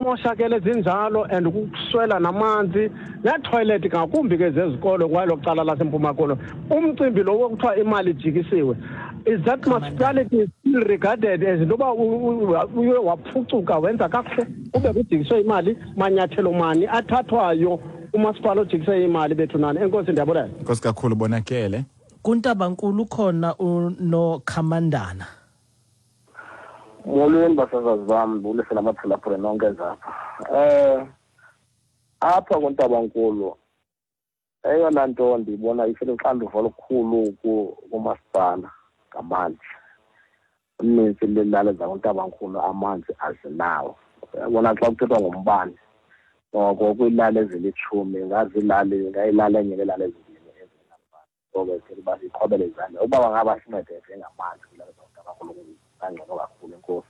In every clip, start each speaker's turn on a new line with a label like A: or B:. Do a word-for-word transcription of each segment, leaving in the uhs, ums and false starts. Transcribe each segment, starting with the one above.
A: Zimoshakele zinjalo and kukuswela namanzi neethoyilethi, ngakumbi ke zezikolo kwelo cala laseMpuma Koloni. Umcimbi lo wokuthiwa imali ijikisiwe, is that municipality still regarded as into yoba uye waphucuka, wenza kakuhle, kube kujikiswe imali? Manyathelo mani athathwayo umasipala ojikise imali, bethu nani? Enkosi, ndiyabulela.
B: Enkosi kakhulu, Bonakele.
C: Kuntabankulu ukhona uNokhamandana.
D: Molweni basasazi bam, ndibulise namaphulaphula nonke zapha. Eh apha kuNtabankulu eyona nto ndiyibona iseluxanduva olukhulu kumasipala ngamanzi. Unintsi lweelali zakuNtabankulu amanzi azinawo. Uyabona, xa kuthethwa ngombane, noko kwiilali ezilitshumi ngaziilali ingayilali enye neelali ezimbini ezingenambane. So ke sicela uba siqhwabele izandla ukuba bangaba sincede njengamanzi kwiilali zakuNtabankulu, kungangcono kakhulu. Enkosi.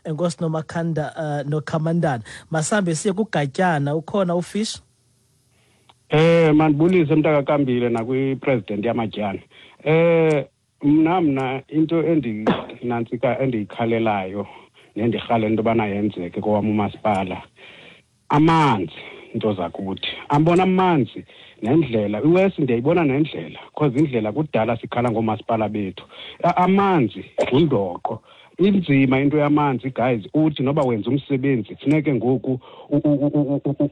C: Enkosi Nomakhanda, uh, Nokhamandana. Masambe siye kuGatyana, ukhona uFish.
A: Eh mandibulise mntakakambile nakwi-president yamatyana. Eh mna mna into endinantsika endiyikhalelayo nendirhalela into yobana yenzeke kowam umasipala, amanzi, into zakuthi. Ambona amanzi nendlela, iwesi ndiyayibona nendlela, because indlela kudala sikhala ngoomasipala bethu. Amanzi ngundoqo. Inzima into yamanzi guys, uthi noba wenza umsebenzi funeke ngoku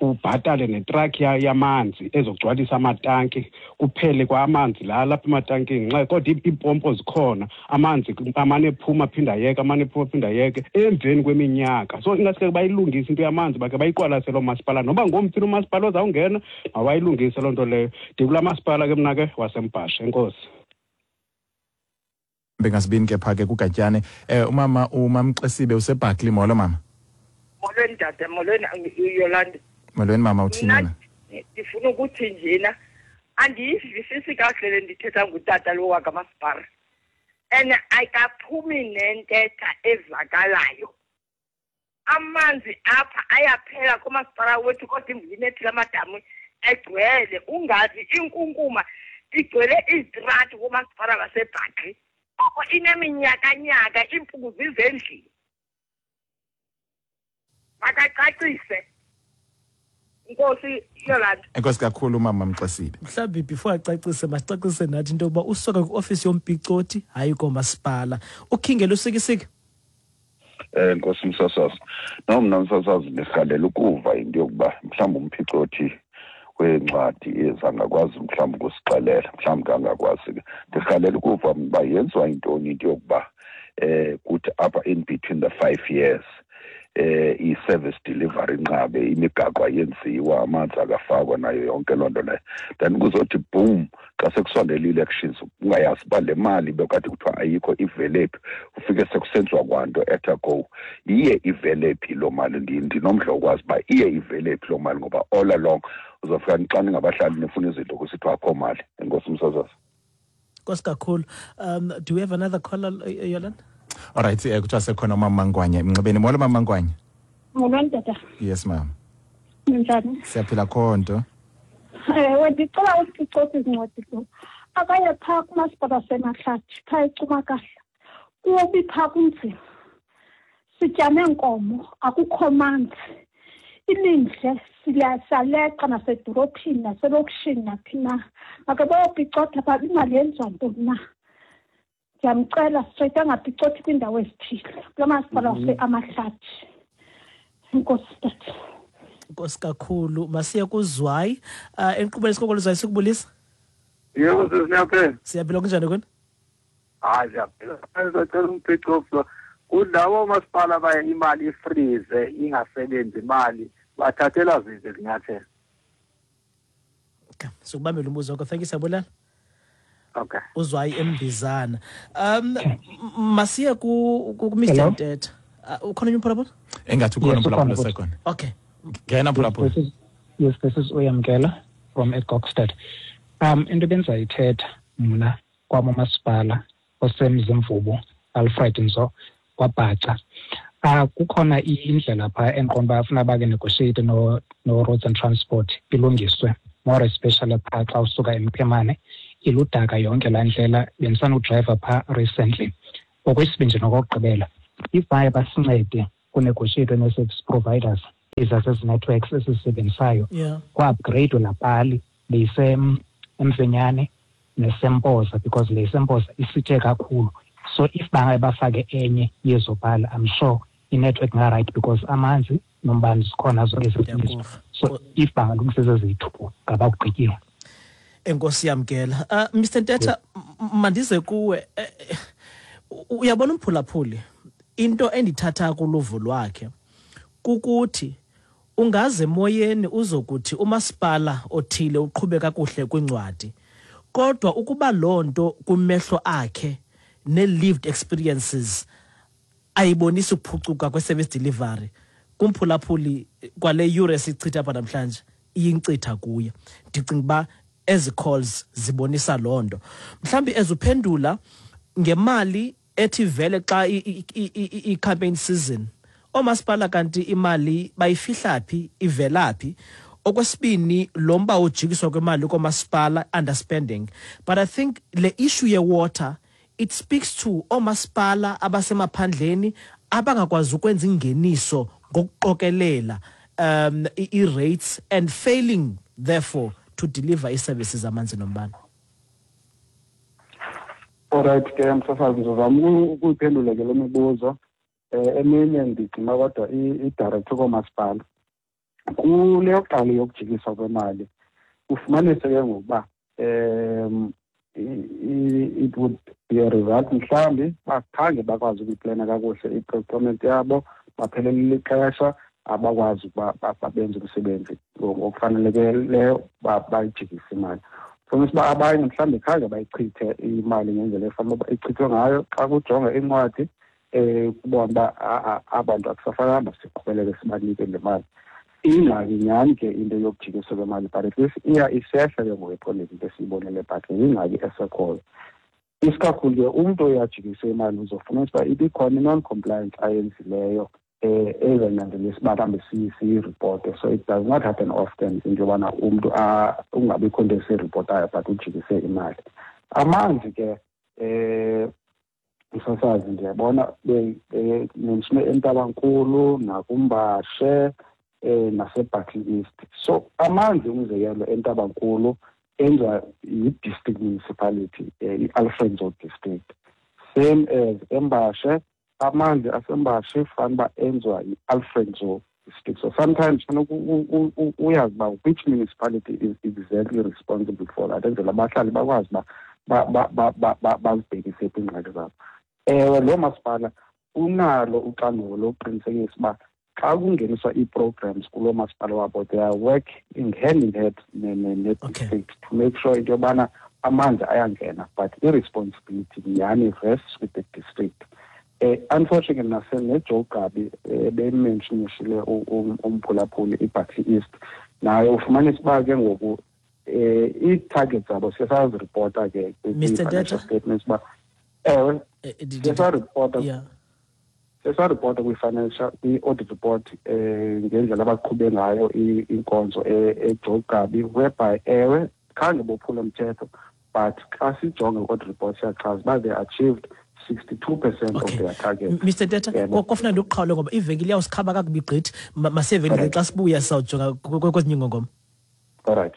A: ubhatale netruck yamanzi ezogcwalisa amatanki, kuphele kwa amanzi la lapha ematankini, nxa kodwa iipompo zikhona, amanzi amane ephuma aphinde ayeke, amane ephuma aphinde ayeke emveni kweminyaka. So ingaske bayilungise into yamanzi, bakhe bayiqwalasele oomasipala, noba ngomphini umasipala ozawungena mawayilungise loo nto leyo. Ndikulaa masipala ke mna ke waseMbhashe. Enkosi.
B: Bengasibini ke pha ke kuGatyane. Eh umama uMamxesibe useBarkley. Molo mama.
E: Molweni tata, molweni Yolanda.
B: Molweni mama, uthini wena?
E: Ndifuna ukuthi njena andiyivisisi kakuhle le ndithetha ngutata lo wakamasipala, and ayikaphumi nentetha evakalayo. Amanzi apha ayaphela kumasipala wethu, kodwa imvula inethile, amadamu egcwele, ungazi inkunkuma igcwele izitrati kumasipala waseBarkley. Oko ineminyakanyaka iimpuku zizendlini. Makacacise, Nkosi Yolanda.
B: Enkosi kakhulu mama Mxesibe.
C: Mhlawumbi before acacise, masicacise nathi into yokuba usuka kwiofisi yompicoti, hayi komasipala. Ukhingela usikisiki.
F: Eh Nkosi msasazi. No, mna msasazi ndirhalela ukuva into yokuba mhlawumbi umphicothi wencwadi ezangakwazi mhlawumbi ukusixelela, mhlawumbi angakwazi ke. Ndirhalela ukuva uba yenziwa yintoni into yokuba eh kuthi apha in between the five years eh i-service delivery inqabe, imigaqo ayenziwa, amanzi akafakwa, nayo yonke loo nto leyo, then kuzothi boom xa sekusondele i-elections, ungayazi uba le mali bekade kuthiwa ayikho ivelephi, ufike sekusenziwa kwanto at a go. Iye ivelephi loo mali? Ndinomdla wokwazi uba iye ivelephi loo mali, ngoba all along uzofika xa ningabahlali nifuna izinto kusithiwa akho mali. Enkosi msasazi.
C: Nkosi kakhulu. Um do we have another caller, Yolanda?
B: Alright, eh kuthiwa sekhona umama Mangwanya emnxebeni. Molo mama Mangwanya.
G: Molweni tata.
B: Yes mama.
G: Ninjani?
B: Siyaphila khonto.
G: Ewe, ndicela usicothi izincwadi lo. Akaye phaa kumasipala waseMahlathi, phaa eCumakahla. Kubi phaa, kunzima. Sitya neenkomo, akukho manzi. Ilindle siyaleqa nasedorophini naselokishini naphi na. Make bayopicotha phaa, imali yenziwa ntoni na? Ndiyamcela straight angapicothi kwiindawo ezithile kulaa masipala wase-Amahlathi. Enkosi tata.
C: Nkosi kakhulu. Masiye kuZwayi. Uh, enkqubeni isikolo Zwayi, sikubulisa.
H: Yebo sisi, niyaphila?
C: Siyaphila, kunjani kuni?
H: Hayi, siyaphila. Sicela umpicotho kulabo masipala baye imali ifreeze, ingasebenzi imali, bathathelwa ziphi izinyathelo?
C: Okay, sokubambela umbuzo wakho. Thank you, siyabulala.
H: Okay.
C: Uzwayi eMbizana. Um masiye ku ku Mister
I: Hello?
C: Ntetha. Uh, ukhona omnye umphulaphuli?
B: Engathi ukhona
I: Yes,
B: umphulaphuli
I: ukhona.
B: osekhona.
C: Okay.
B: Ngena mphulaphuli.
I: This is, yes, this is Uyamkela from eGokstad. Um into bendizayithetha mna kwam umasipala oseMzimvubu, Alfred Nzo, kwaBhaca. Uh, kukhona indlela phaa endiqonda uba funa bake negotiate no, no Roads and Transport ilungiswe, more especially phaa xa usuka eMphemane, iludaka yonke laa ndlela. Bendisanodrayiva phaa recently. Okwesibini nje nokokugqibela, if baye basincede kunegotiate nee-service providers. Ezasezi networks esizisebenzisayo.
C: Yeah.
I: Kwa-upgrade laa pali beyisemfenyane nesempoza because le sempoza isithe kakhulu. So if bangaye bafake enye yezo pali, I'm sure i-network nga-right because amanzi nombane zikhona zonke ezizinto. So if bangalungisa eziyi-two ngaba kugqityiwe.
C: Enkosi yamkela. Uh, Mister Ntetha, mandize kuwe. Uyabona umphulaphuli, into endithatha kuluvo lwakhe kukuthi ungaze emoyeni uzokuthi umasipala othile uqhube kakuhle kwincwadi, kodwa ukuba loo nto kumehlo akhe ne-lived experiences ayibonisi ukuphucuka kwe-service delivery, kumphulaphuli kwale yure sichitha apha namhlanje iyinkcitha kuye. Ndicinga uba ezi calls zibonisa loo nto. Mhlawumbi ezuphendula ngemali ethi vele xa i-campaign season, oomasipala kanti imali bayifihla phi, ivela phi? Okwesibini, lo mba ujikiswa kwemali koomasipala, underspending. But I think le issue ye-water, it speaks to oomasipala abasemaphandleni abangakwazi ukwenza ingeniso ngokuqokelela um i-rates and failing therefore to deliver ii-services amanzi nombane.
A: Alright ke msasazi, ndizozama ukuyiphendula ke le mibuzo. Eh eminye ndigcina kodwa i-director koomasipala. Kule yokuqala yokujikiswa kwemali ufumanise ke ngokuba um it would be a result mhlawumbi bakhange bakwazi ukuyiplana kakuhle i-procurement yabo, baphelelile ixesha, abakwazi ukuba babenze umsebenzi ngokufanelekileyo, bayijikise imali. Fumanisa uba abanye mhlawumbi khange bayichithe imali ngendlela efanele uba ichithwe ngayo. Xa kujonga incwadi um kubona uba abantu akusafanelanga siqhubeleke sibanike le mali. Ingxaki nyhani ke into yokujikiswa kwemali, but at least iya isehla ke ngoku ephondweni into esiyibonele, but yingxaki esekhoyo. Isikakhulu ke umntu oyajikise imali uzofumanisa uba ibikhona i-non-compliance ayenzileyo um ezanyanzelisa uba mhlawumbi siyiripote. So it does not happen often into yobana umntu ungabikho nto esiyiripotayo but ujikise imali. Amanzi ke um msasazi, ndiyabona mentionwe eNtabankulu nakuMbashe eh naseBarkly East. So amanzi umzekelo eNtabankulu enziwa yi-district municipality, i-Alfred Nzo district. Same as eMbashe, amanzi aseMbashe fanele uba enziwa yi-Alfred Nzo district. So sometimes funeka uyazi uba which municipality is exactly responsible for that, enzela abahlali bakwazi uba bazibhekise kwiingxaki zabo. Ewe, lo masipala unalo uxanduva lokuqinisekisa uba xa kungeniswa ii-programs kuloo masipala wabo, they are working hand in hand ne-district to make sure into yobana amanzi ayangena, but i-responsibility nyhani rests with the district. Eh, unfortunately naseneJoe Gqabi bementionishile umphulaphuli iBarkly East, naye ufumanisa uba ke ngoku eh ii-targets zabo siye saziripota ke kwi-financial statements uba ewe siye saripota sesaripota kwi-financial kwi-audit report eh ngendlela abaqhube ngayo inkonzo eJoe Gqabi, whereby ewe khange bophule umthetho, but xa sijonge i-audit report siyachaza uba they achieved sixty-two percent of their target.
C: Mister Ntetha, kofuna ndikuqhawule ngoba ivenkile iyawusikhaba kakubi gqithi. Maseveni xa sibuya sizawujonga kwezinye iingongoma.
A: All right.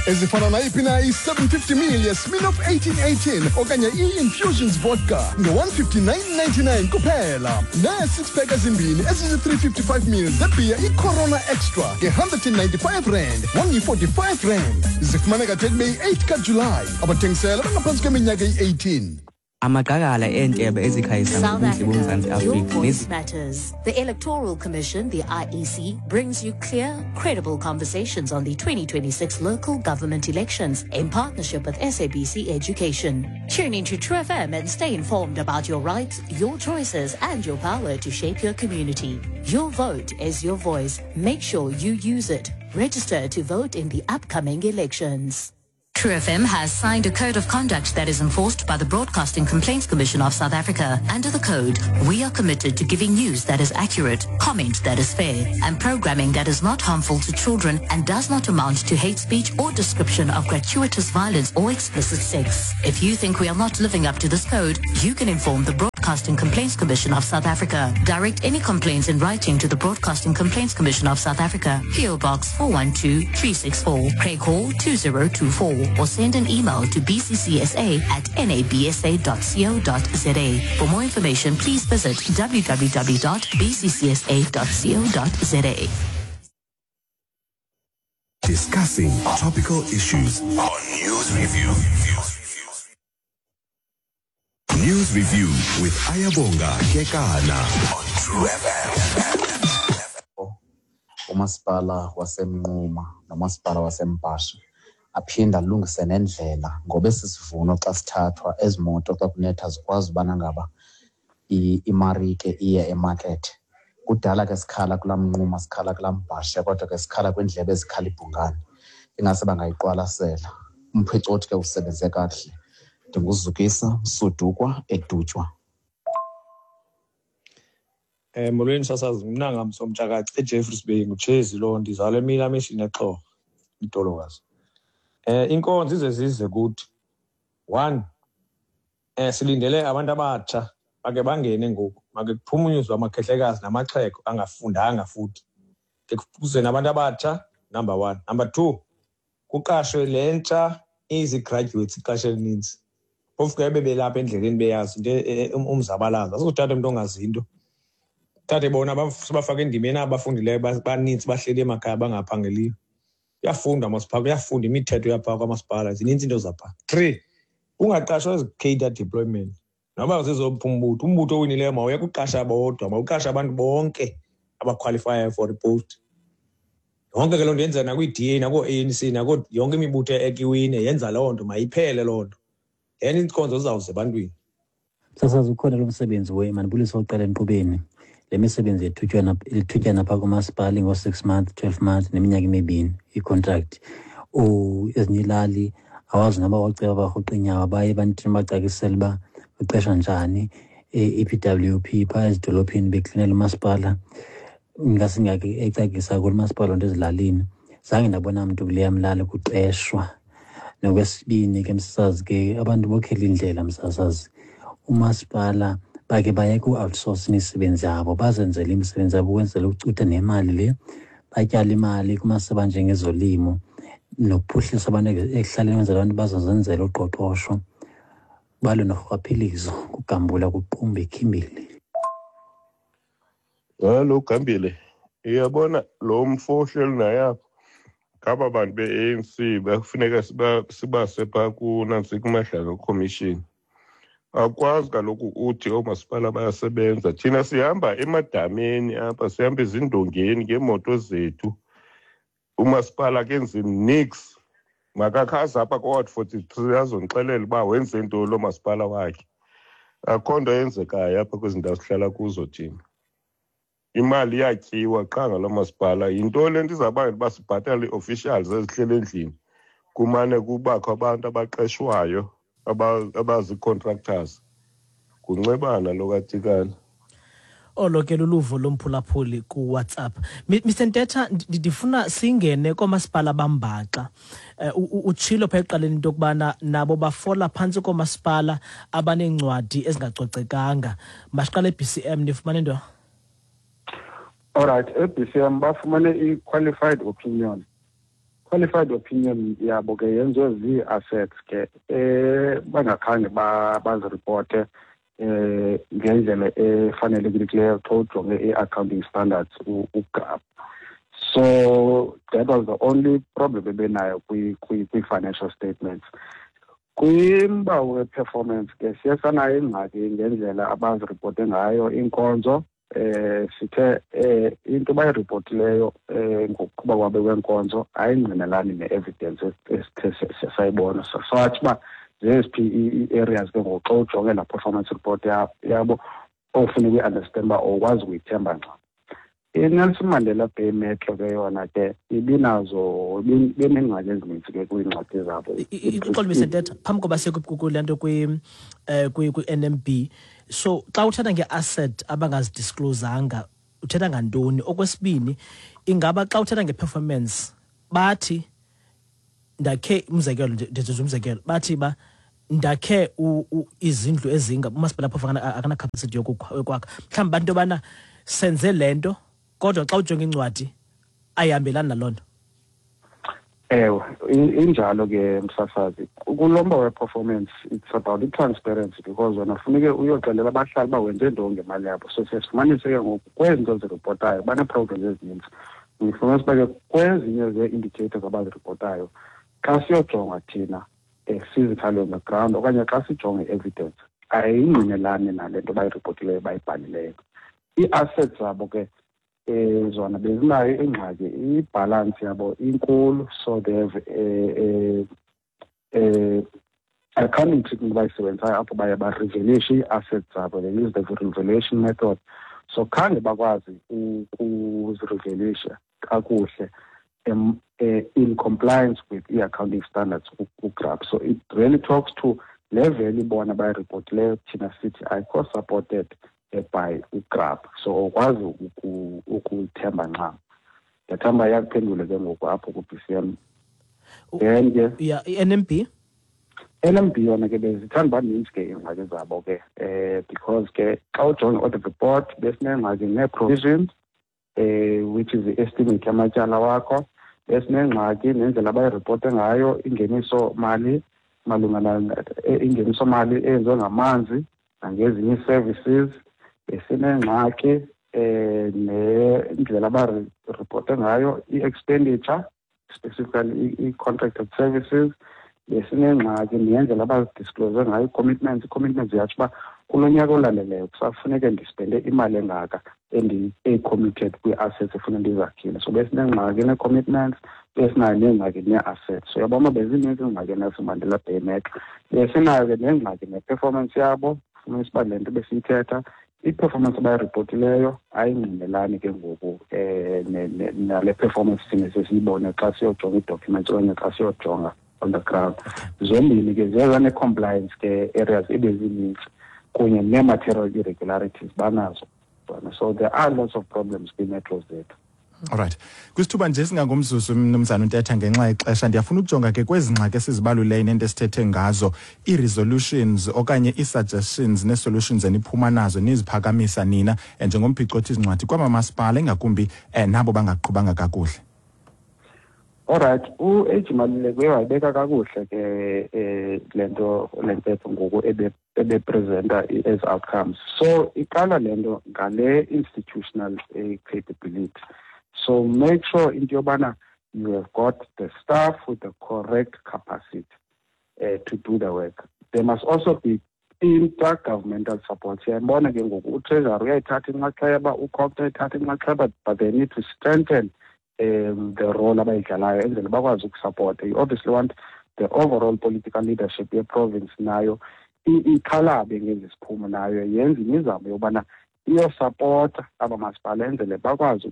J: Ezifana nayiphi na i-seven fifty ml yeSmirnoff eighteen eighteen okanye i-Infusions vodka nge-one fifty-nine ninety-nine kuphela, nee-six pack ezimbini ezizi-three fifty-five ml zebhiya i-Corona Extra nge-one ninety-five rand, one forty-five rand. Zifumaneka de kube yi-eight kaJulayi. Abathengisela bangaphantsi kweminyaka eyi-eighteen.
K: Amaqakala eentebe ezikhanyisa ngobuhle boMzantsi Afrika.
L: Your voice matters. The Electoral Commission, the I E C, brings you clear, credible conversations on the twenty twenty-six local government elections in partnership with S A B C Education. Tune into True F M and stay informed about your rights, your choices, and your power to shape your community. Your vote is your voice. Make sure you use it. Register to vote in the upcoming elections. True F M has signed a code of conduct that is enforced by the Broadcasting Complaints Commission of South Africa. Under the code, we are committed to giving news that is accurate, comment that is fair, and programming that is not harmful to children and does not amount to hate speech or description of gratuitous violence or explicit sex. If you think we are not living up to this code, you can inform the Broadcasting Complaints Commission of South Africa. Direct any complaints in writing to the Broadcasting Complaints Commission of South Africa, P O Box four one two three six four, Craig Hall two zero two four, or send an email to b c c s a at n a b s a dot co dot z a. For more information, please visit w w w dot b c c s a dot co dot z a.
M: Discussing topical issues on News Review. News Review with Ayabonga Kekana on True F M.
N: Umasipala waseMnquma nomasipala waseMbhashe aphinda alungise nendlela ngoba esi sivuno xa sithathwa ezi moto xa kunetha zikwazi ubana ngaba imarike iye emakethe. Kudala ke sikhala kulaa Mnquma, sikhala kulaa Mbhashe, kodwa ke sikhala kwiindlebe ezikhala ibhungane. Ingase bangayiqwalasela. Umphicothi ke usebenze kakuhle. Ndinguzukisa Msudukwa eDutywa.
O: Eh molweni sasazi, mna ngamsomtshakaci eJeffreys Bay, nguTshezi lo, ndizalwe emini amishini eXhorha, idolokazi. Eh inkonzo ize zize kuthi one eh silindele abantu abatsha bake bangene ngoku, make kuphumunyuzwe amakhehlekazi namaxhego angafundanga futhi. Ke kuze nabantu abatsha, number one. Number two, kuqashwe lentsha izi-graduates ixesha elininzi. Phofu ke bebelapha endleleni beyazi into umzabalazo. Asizothatha umuntu ongazi into. Thathe bona sibafake endimeni abafundileyo baninzi bahleli emakhaya bangaphangeliyo. Uyafunda masiphala, uyafunda imithetho yapha kwamasipala, zininzi into zapha. Three, ungaqashwa ezi-cadre deployment. Noba zizopha umbutho, umbutho owinileyo mawuye kuqasha bodwa, mawuqashe abantu bonke abaqualifyayo for ipost. Yonke ke loo nto yenza nakwi-D A, nakoo-A N C, nako yonke imibutho ekiwine yenza loo nto, mayiphele loo nto. Then iinkonzo zizawuza ebantwini.
P: Sasazi ukhona lo msebenzi we mandibulise oqala enkqubeni. Le misebenzi yethutyana lithutyana phaa kumasipala ngo-six months, twelve months neminyaka emibini i-contract. Ezinye ilali awazi noba waceba barhuqa iinyawo baye ebantwini bacakisele uba uqeshwa njani. I P W P phaa ezidolophini beklinela umasipala, ingasingake ecakisa kulo masipala nto ezilalini. Zange ndabona mntu kuleya mlali kuqeshwa. Nokwesibini ke msasazi ke abantu bokhela indlela msasazi. Umasipala bake bayeke u-outsource imisebenzi yabo, bazenzele imisebenzi yabo ukwenzela ukucutha nemali le, batyale imali kumasebe anjengezolimo nokuphuhlisa abantu ekuhlaleni ukwenzela abantu bazozenzela uqoqosho, balwe norhwaphilizo, kugambula kuqumbe ikhimbili.
Q: Hallo Gambile, uyabona lo mfo ohleli naye apha, ngaba bantu be-A N C bakufuneka sibase phaa kunantsi kuMadlanga Commission. Akwazi kaloku uthi oomasipala bayasebenza. Thina sihamba emadameni apha, sihamba ezindongeni ngeemoto zethu. Umasipala akenzi niks. Makakhaze apha ko-Ward forty-three azondixelela uba wenze ntoni lo masipala wakhe. Akho nto eyenzekayo apha kwezi ndawo sihlala kuzo thina. Imali iyatyiwa qha ngalo masipala. Yinto le nto izawubangela uba sibhatale ii-officials ezihleli endlini, kumane kubakho abantu abaqeshwayo abazi-contractors. Kuncebana lo kaTikana.
C: Olo ke luluvo lomphulaphuli kuWhatsApp. Mister Ntetha, ndifuna singene koomasipala bambaxa. Utshilo pha ekuqaleni into yokubana nabo bafola phantsi koomasipala abaneencwadi ezingacocekanga. Masiqale e-B C M, nifumane into?
R: All right, e-B C M bafumane i-qualified opinion. Qualified opinion yabo ke yenziwe zii-assets ke eh bangakhange baziripote eh ngendlela efanelekileyo xa ujonge i-accounting standards uGAP. So that was the only problem ebenayo kwi-financial statements. Kwimba we-performance ke siye sanayo ingxaki ngendlela abaziripote ngayo iinkonzo. Eh sithe eh into bayiripotileyo eh ngokuqhuba kwabe kwenkonzo ayingqinelani ne-evidence esithe sayibona. So sathi uba zeziphi ii-areas ke ngoku xa ujonge laa performance report yabo ofuna ukuyi-understand uba awukwazi ukuyithemba ncam. INelson Mandela Bay Metro ke yona ke ibinazo benengxaki ezininzi ke kwiingxaki zabo.
C: Uxolo Mister Ntetha, phambi koba siye kule nto kwi-N M B, so xa uthetha nge-asset abangazidisclosanga uthetha ngantoni? Okwesibini, ingaba xa uthetha nge-performance bathi ndakhe, umzekelo ndenza umzekelo, bathi ba ndakhe izindlu ezinga umasipala phofu akana capacity yokwakha, mhlawumbi bantu yobana senze le nto kodwa xa ujonga incwadi ayihambelani naloo nto.
R: Ewe, injalo ke msasazi. Kulomba we-performance it's about i-transparency, because wena funeke uyoxelela abahlali uba wenze ntoni ngemali yabo. So siye sifumanise ke ngoku kwezi nto ziripotayo banee-programs ezininzi. Ndifumanisa uba ke kwezinye zee-indicators abaziripotayo xa siyojonga thina physically on the ground okanye xa sijonge i-evidence ayingqinelani nale nto bayiripotileyo bayibhalileyo. Ii-assets zabo ke eh zona bezinayo ingxaki, ibhalansi yabo inkulu, so they have a a accounting treatment bayisebenzisayo apho baye barevaluate ii-assets zabo, they use the revaluation method. So khange bakwazi ukuzirevaluate kakuhle in compliance with i-accounting standards ku-GRAP. So it really talks to le value bona bayiripotileyo thina sithi ayikho supported by uGRAP, so awukwazi ukuyithemba ncam. Ndiyathemba iyakuphendula ke ngoku apho ku-B C M. Then ke
C: yeah, i-N M B
R: N M B yona ke bezithanda uba ninzi ke iingxaki zabo ke eh because ke xa ujonga i-audit report besinengxaki nee-provisions eh which is the estimate yamatyala wakho, besinengxaki nendlela abayiripote ngayo ingeniso mali malunga ingeniso mali eyenziwe ngamanzi nangezinye ii-services, besinengxaki eh nendlela abaripote ngayo i-expenditure specifically i-contracted services, besinengxaki nendlela abazidisclose ngayo i-commitments. I-commitments ziyatsho uba kulo nyaka olandeleyo kusafuneke ndispende imali engaka eyi-committed kwii-assets efuna ndizakhile. So besinengxaki nee-commitments, besinayo neengxaki nee-assets. So uyabona bezininzi iingxaki eNelson Mandela Bay Metro. Besinayo ke nengxaki ne-performance yabo, fumanisa uba le nto besiyithetha i-performance abayiripotileyo ayingqinelani ke ngoku um nale performance thina sesiyibone xa siyojonga ii-documents okanye xa siyojonga on the ground. Zombini ke ziye zane-compliance ke areas ebezininzi kunye nee-material irregularities banazo. So there are lots of problems kwiimetro zethu.
B: Alright. Kwisithuba nje singangomzuzu mnumzana uNtetha ngenxa yexesha, ndiyafuna ukujonga ke kwezi ngxaki esizibaluleyo nento esithethe ngazo, ii-resolutions okanye ii-suggestions nee-solutions eniphuma nazo niziphakamisa nina njengomphicothi zincwadi kwamamasipala ingakumbi nabo bangaqhubanga kakuhle.
R: Alright, u-H Maluleke wayibeka kakuhle ke eh le nto le ntetho ngoku ebe ebepresenta as outcomes. So iqala le nto ngale institutional capability. So make sure into yobana you have got the staff with the correct capacity uh, to do the work. There must also be intergovernmental support. Siyayibona ke ngoku uTreasury uyayithatha inxaxheba, uCogta uyayithatha inxaxheba, but they need to strengthen um, the role abayidlalayo enzele bakwazi ukusupporta. You obviously want the overall political leadership ye-province nayo ikhalabe ngezi siphumo, nayo yenze imizamo yobana iyosapota aba masipala enzele bakwazi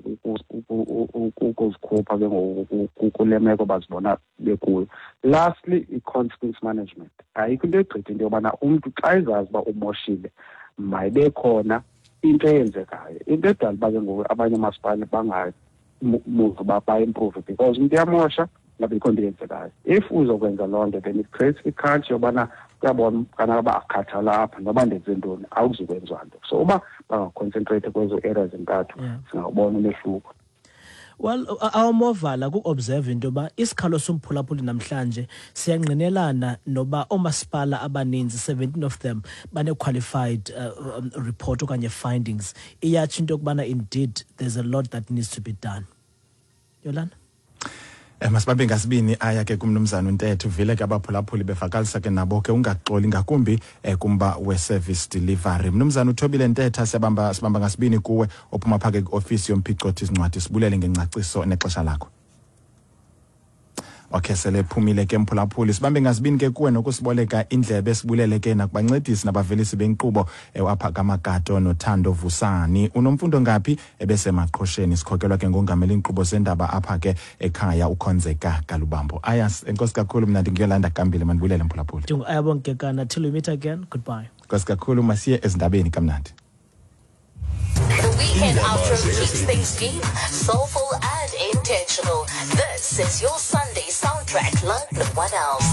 R: ukuzikhupha ke ngoku kule meko bazibona bekuyo. Lastly, i-consequence management. Ayikho into egqitha into yobana umntu xa ezazi uba umoshile mayibe khona into eyenzekayo. Into edala uba ke ngoku abanye oomasipala bangamuvi uba ba-improve because umntu uyamosha ngabikho nto eyenzekayo. If uzokwenza loo nto then it creates i-culture yobana kuyabona kana uba akhathala apha noba ndenze ntoni awuzukwenziwa nto. So uba bangaconcentrate kwezo areas entathu singawubona umehluko.
C: Well, awumovala ku-observe into yoba isikhalo somphulaphuli namhlanje siyangqinelana noba oomasipala abaninzi, seventeen of them, bane-qualified uh, um, report okanye findings. Iyatsho into yokubana indeed there's a lot that needs to be done. Yolanda?
B: Eh masibambe ngasibini aya ke kumnumzana uNtetha, uvile ke abaphulaphuli bevakalisa ke nabo ke ungaxoli ngakumbi eh, kumba we-service delivery. Mnumzana uThobile Ntetha, siyabamba sibamba ngasibini kuwe ophuma phake kwi-ofisi yomphicothi zincwadi, sibulele ngengcaciso nexesha lakho. Okay, sele phumile ke mphulaphuli. Sibambe ngazibini ke kuwe nokusiboleka indlebe, sibulele ke nakubancedisi nabavelisi benkqubo apha kaMagato noThando Vusani. Unomfundo ngaphi ebesemaqhosheni, sikhokelwa ke ngongamela inkqubo zendaba apha ke ekhaya uKhonzeka Kalubambo. Ayas, enkosi kakhulu, mna ndinguyolanda Kambile, mandibulele mphulaphuli.
C: Ayabonga Kekana, till we meet again, goodbye.
B: Enkosi kakhulu, masiye ezindabeni kamnandi.
L: The weekend outro keeps things deep, soulful and intentional. This is your Sunday soundtrack like no one else.